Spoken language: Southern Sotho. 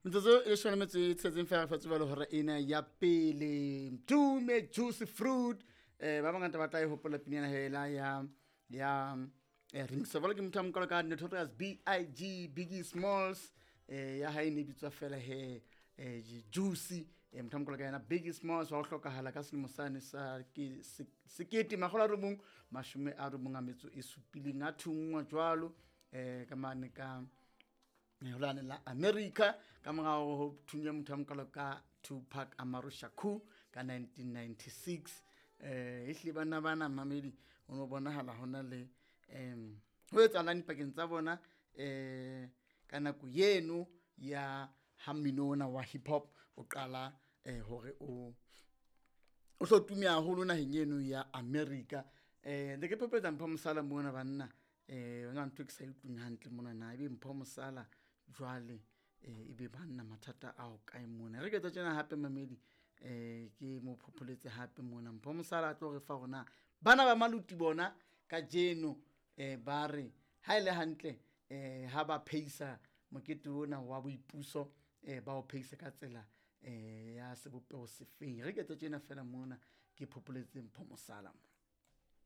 Metsotso e leshome le metso e tsheletseng fela re fa tseba le hora ena ya pele. Tume Juicy Fruit, ba bangata ba tla e hopola pina ena hela ya remix. Jwale ke motho a mokalo ka Notorious BIG, Biggie Smalls, ya hae ne bitswa fela he Juicy. Motho a mokalo ka yena Biggie Smalls wa ho hlokahala ka selemo sane sa ke 1997, a thunngwa jwalo ka mane ka holane la America, ka morao ho thunya motho a mokalo ka Tupac Amaru Shakur ka 1996. Ehlile banna bana mamedi, ho no bonahala hona le ho etsahalang dipakeng tsa bona ka nako yeno ya ha mmino ona wa hip hop o qala hore o hlo tume haholo naheng eno ya America. Ne ke phephetsa Mpho Mosala mona banna, yona ntho e ke sa e utlweng hantle mona na ebe Mpho Mosala jwale ebe banna mathata ao kae mona. Re ke etsa tjena hape mamedi, ke mo phopholetse hape mona Mpho Mosala a tlo re fa hore na bana ba Maluti bona kajeno ba re ha e le hantle ha ba pheisa mokete ona wa boipuso, ba o pheisa ka tsela ya sebopeho sefeng. Re ke etsa tjena fela mona ke phopholetse Mpho Mosala mona.